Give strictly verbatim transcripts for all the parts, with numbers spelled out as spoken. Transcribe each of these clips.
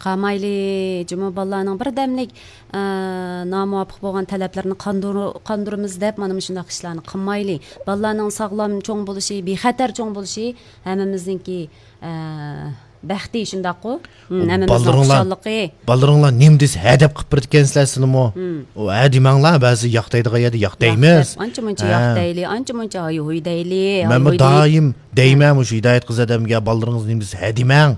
قالمايلى، جۇمۇ بالىلارنىڭ بىردەملىك، ئە، نامۇۋاپىق بولغان تەلەپلىرىنى قاندۇر-، قاندۇرىمىز دەپ، مانا مۇشۇنداق ئىشلارنى قىلمايلى. بالىلارنىڭ ساغلام چوڭ بولۇشى، بىخەتەر چوڭ بولۇشى ھەممىمىزنىڭكى، ئە، بەختى، شۇنداققۇ؟ ھىم، ھەممىمىزنىڭ بالىرىڭلار، خۇشاللىقى. بالىرىڭلار نېمە دېسە ھە دەپ قىلىپ بېرىدىكەنسىلەر سىلىمۇ. ھىم. ئۇ ھە دېمەڭلار، بەزى ياق دەيدىغان يەردە ياق دەيمىز. ياق دەپ، ئانچە مۇنچە ياق دەيلى، ئانچە مۇنچە ھاي ھۇي دەيلى، ھاي ھۇي دەيلى. مەنمۇ دائىم دەيمەن، مۇشۇ ھىدايەت قىز ئادەمگە، بالىلىرىڭىز نېمە دېسە ھە دېمەڭ.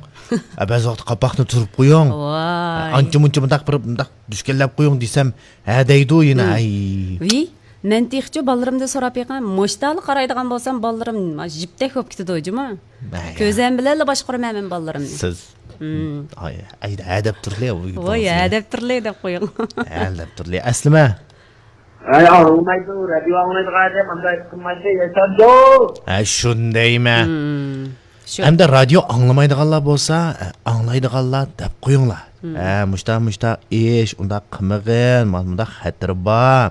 ئە، بەزى ۋاقىتتا قاپاقنى تۈرۈپ قويۇڭ. ۋاي. ئانچە مۇنچە مۇنداق بىر، مۇنداق دۈشكەنلەپ قويۇڭ دېسەم، ھە دەيدۇ يەنە، ھىم. ھەي. ۋىي، مەن تېخىچۇ بالىلىرىمدىن سوراپ بېقىڭ، مۇشتالا قارايدىغان بولسام، بالىلىرىم جىپتەك بولۇپ كېتىدۇ جۇمۇ. ھەي. كۆزۈم بىلەنلا باشقۇرىمەن مەن بالىلىرىمنى. سىز، ھىم. ئاي، ئەيدە، ھە دەپ تۇرلى، ۋاي، ھە دەپ تۇرلى دەپ قويۇڭ. ھە دەپ تۇرلى، ئەسلىمە. ئەي، ئاڭلىمايدۇ، رادىيو ئاڭلايدىغان ئادەم ئانداق قىلمايدۇ، ياشامدۇ؟ ھە، شۇندايمەن. ھىم، شۇ. ئەمدى رادىيو ئاڭلىمايدىغانلار بولسا، ئە، ئاڭلايدىغانلار دەپ قويۇڭلار. ھىم. ھە، مۇشتا، مۇشتا ئىش، ئۇنداق قىلمىغىن، مانا مۇنداق خەتىرى بار.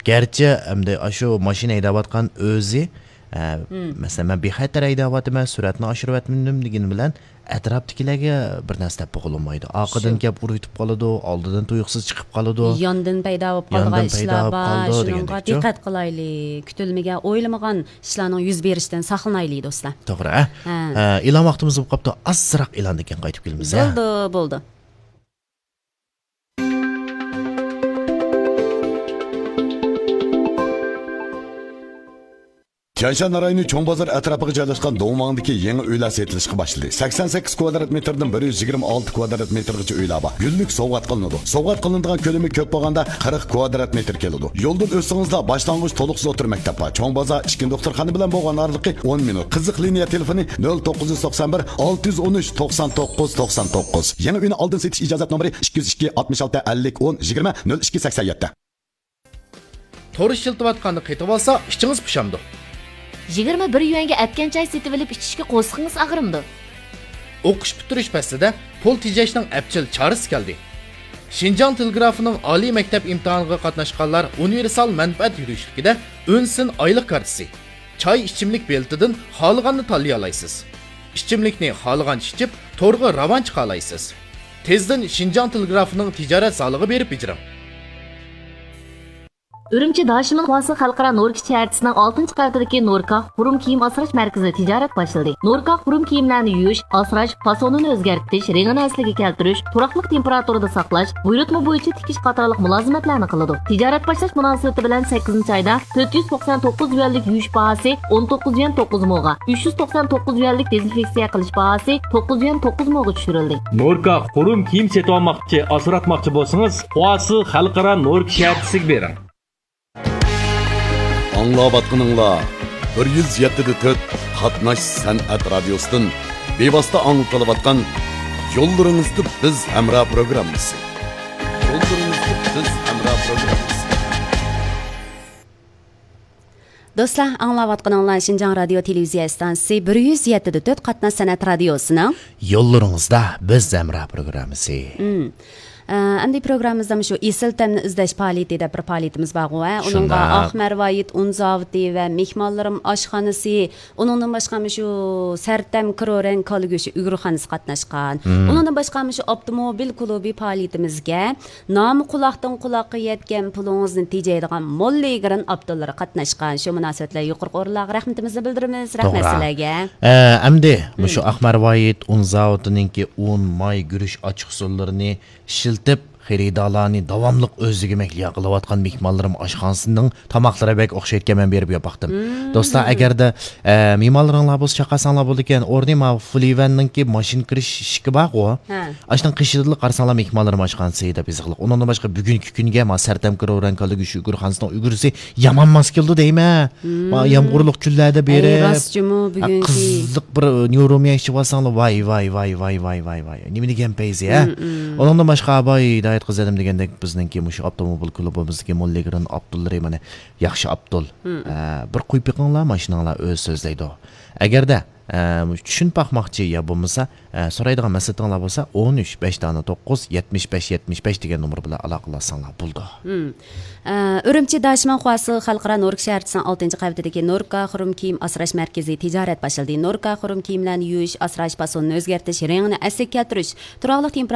گەرچە ئەمدى ئاشۇ ماشىنا ھەيدەۋاتقان ئۆزى، ئە، ھىم. مەسىلەن، مەن بىخەتەر ھەيدەۋاتىمەن، سۈرئەتنى ئاشۇرۇۋەتمىدىم دېگىنى بىلەن، ئەتراپتىكىلەرگە بىر نەرسە دەپ بولۇنمايدۇ. ئارقىدىن شۇ. كەپ ئۇرۇۋېتىپ قالىدۇ، ئالدىدىن تۇيۇقسىز چىقىپ قالىدۇ. ياندىن پەيدا بولۇپ قالىدىغان ياندىن پەيدا ئىشلار بولۇپ بار، قالىدۇ شۇنىڭغا دېگەندەكچۇ. دىققەت قىلايلى. كۈتۈلمىگەن، ئويلىمىغان ئىشلارنىڭ يۈز بېرىشىدىن ساقلىنايلى، دوستلار. توغرا، ھە؟ ھە. ھە، ئېلان ۋاقتىمىز بولۇپ قاپتۇ. ئازراق ئېلاندىن كېيىن قايتىپ كېلىمىز، ھە؟ بولدى، بولدى. تيەنشان رايونى چوڭ بازار ئەتراپىغا جايلاشقان دوڭماڭدىكى يېڭى ئۆيلەر سېتىلىشقا باشلىدى. سەكسەن سەككىز كۋادرات مېتىردىن بىر يۈز يىگىرمە ئالتە كۋادرات مېتىرغىچە ئۆيلەر بار. گۈللۈك سوۋغات قىلىنىدۇ. سوۋغات قىلىنىدىغان كۆلىمى كۆپ بولغاندا قىرىق كۋادرات مېتىر كېلىدۇ. يولدىن ئۆتسىڭىزلا باشلانغۇچ، تولۇقسىز ئوتتۇرا مەكتەپ بار. چوڭ بازار ئىككىنچى دوختۇرخانا بىلەن بولغان ئارىلىقى ئون مىنۇت. قىزىق لىنىيە تېلېفونى نۆل توققۇز يۈز توقسان بىر، ئالتە يۈز ئون ئۈچ، توقسان توققۇز، توقسان توققۇز. يېڭى ئۆينى ئالدىن سېتىش ئىجازەت نومۇرى ئىككى يۈز ئىككى، ئاتمىش ئالتە، ئەللىك، ئون، يىگىرمە، نۆل ئىككى، سەكسەن يەتتە. تور ئىشلىتىۋاتقاندا قېتىۋالسا، ئىچىڭىز پۇشامدۇ. يىگىرمە بىر يۈەنگە ئەتكەن چاي سېتىۋېلىپ ئىچىشكە قورسىقىڭىز ئاغرىمدۇ؟ ئوقۇش پۈتتۈرۈش پەسلىدە پۇل تېجەشنىڭ ئەپچىل چارىسى كەلدى. شىنجاڭ تېلېگرافىنىڭ ئالىي مەكتەپ ئىمتىھانىغا قاتناشقانلار ئۇنىۋېرسال مەنپەئەت يۈرۈشلۈكىدە ئۈنسىن ئايلىق كارتىسى، چاي ئىچىملىك بېلىتىدىن خالىغاننى تاللىيالايسىز. ئىچىملىكنى خالىغانچە ئىچىپ، تورغا راۋان چىقالايسىز. تېزدىن شىنجاڭ تېلېگرافىنىڭ تىجارەت زالىغا بېرىپ بېجىرىڭ. ئۈرۈمچى داشىمىن خۇاسى خەلقئارا نوركا شەھەرچىسىنىڭ ئالتىنچى قەۋىتىدىكى نوركا خۇرۇم كىيىم ئاسراش مەركىزىدە تىجارەت باشلىدى. نوركا خۇرۇم كىيىملەرنى يۇيۇش، ئاسراش، پاسونىنى ئۆزگەرتىش، رېڭىنى ئەسلىگە كەلتۈرۈش، تۇراقلىق تېمپېراتۇرىدا ساقلاش، بۇيرۇتما بويىچە تىكىش قاتارلىق مۇلازىمەتلەرنى قىلىدۇ. تىجارەت باشلاش مۇناسىۋىتى بىلەن سەككىزىنچى ئايدا تۆت يۈز توقسان توققۇز يۈەنلىك يۇيۇش باھاسى ئون توققۇز يۈەن توققۇز موغا، ئۈچ يۈز توقسان توققۇز يۈەنلىك دېزىنفېكسىيە قىلىش باھاسى توققۇز يۈەن توققۇز موغا چۈشۈرۈلدى. نوركا خۇرۇم كىيىم سېتىۋالماقچى، ئاسراتماقچى بولسىڭىز، خۇاسى خەلقئارا نوركا شەھەرچىسىگە بېرىڭ. ئاڭلاۋاتقىنىڭلار بىر يۈز يەتتە دە تۆت قاتناش سەنئەت رادىيوسىدىن بىۋاسىتە ئاڭلىتىلىۋاتقان يوللىرىڭىزدا بىز ھەمراھ پروگراممىسى. يوللىرىڭىزدا بىز ھەمراھ پروگراممىسى. دوستلار، ئاڭلاۋاتقىنىڭلار شىنجاڭ رادىيو تېلېۋىزىيە ئىستانسىسى بىر يۈز يەتتە دە تۆت قاتناش سەنئەت رادىيوسىنىڭ يوللىرىڭىزدا بىز ھەمراھ پروگراممىسى. مم. ئە، ئەمدى پروگراممىمىزدا مۇشۇ ئېسىل تەمنى ئىزدەش پائالىيىتى دەپ بىر پائالىيىتىمىز بارغۇ، ھە؟ ئۇنىڭغا شۇنداق. ئاق مەرۋايىت ئۇن زاۋۇتى ۋە مېھمانلىرىم ئاشخانىسى، ئۇنىڭدىن باشقا مۇشۇ سەرتەم كرورەن كالا گۆشى ئۈگرىخانىسى قاتناشقان. مم. ئۇنىڭدىن باشقا مۇشۇ ئاپتوموبىل كۇلۇبى پائالىيىتىمىزگە نامى قۇلاقتىن قۇلاققا يەتكەن پۇلىڭىزنى تېجەيدىغان موللىگرېن ئاپتوللىرى قاتناشقان. شۇ مۇناسىۋەت بىلەن يۇقىرىقى ئورۇنلارغا رەھمىتىمىزنى بىلدۈرىمىز. رەھمەت توغرا. سىلەرگە. ئە، ئەمدى مۇشۇ مم. ئاق مەرۋايىت ئۇن زاۋۇتىنىڭكى ئۇن، ماي، گۈرۈچ ئاچچىقسۇلىرىنى ئىشلىتىپ، خېرىدارلارنى داۋاملىق ئۆزىگە مەھلىيا قىلىۋاتقان مېھمانلىرىم ئاشخانىسىنىڭ تاماقلىرى بەك ئوخشايدىكەن، مەن بېرىپ يەپ باقتىم. مم. دوستلار، ئەگەردە، ئە، مېھمانلىرىڭلار بولسا چاقىرساڭلار بولىدىكەن، ئورنى ماۋۇ فۇلىۋەننىڭكى ماشىنا كىرىش ئىشىكى بارغۇ. ھە. ئاشۇنىڭ قېشىدىلا قارىساڭلار مېھمانلىرىم ئاشخانىسى دەپ يېزىقلىق. ئۇنىڭدىن باشقا بۈگۈنكى كۈنگە ما سەرتەم كرورەن كالا گۆشى ئۈگرىخانىسىنىڭ ئۈگرىسى يامان ماس كېلىدۇ دەيمەن. ما مم. يامغۇرلۇق كۈنلەردە ئەي، بېرىپ، راست جۇمۇ، ھە، بۈگۈنكى قىزىق بىر نيۇروميا ئىچىۋالساڭلار، ۋاي، ۋاي، ۋاي. نېمە دېگەن پەيزى، ھە؟ مم، مم. ئۇنىڭدىن باشقا، باي ھىدايەت قىز ئادەم دېگەندەك، بىزنىڭكى مۇشۇ ئاپتوموبىل كلۇبىمىزدىكى موللىگرېن ئاپتوللىرى، مانا، ياخشى ئاپتول. مم. ئە، بىر قويۇپ بېقىڭلار، ماشىناڭلار ئۆزى سۆزلەيدۇ. ئەگەردە، ئە، چۈشىنىپ باقماقچى يا بولمىسا، ئە، سورايدىغان مەسلىھىتىڭلار بولسا، ئون ئۈچ، بەش دانە توققۇز، يەتمىش بەش، يەتمىش بەش دېگەن نومۇر بىلەن ئالاقىلەشسەڭلار بولىدۇ. مم. ئە، ئۈرۈمچى داشىمىن خۇاسى خەلقئارا نوركا شەھەرچىسىنىڭ ئالتىنچى قەۋىتىدىكى نوركا خۇرۇم كىيىم ئاسراش مەركىزى تىجارەت باشلىدى. نوركا خۇرۇم كىيىملەرنى يۇيۇش، ئاسراش، پاسونىنى ئۆزگەرتىش، رېڭىنى ئەسلىگە كەلتۈرۈش، تۇراقلىق تېمپېراتۇرا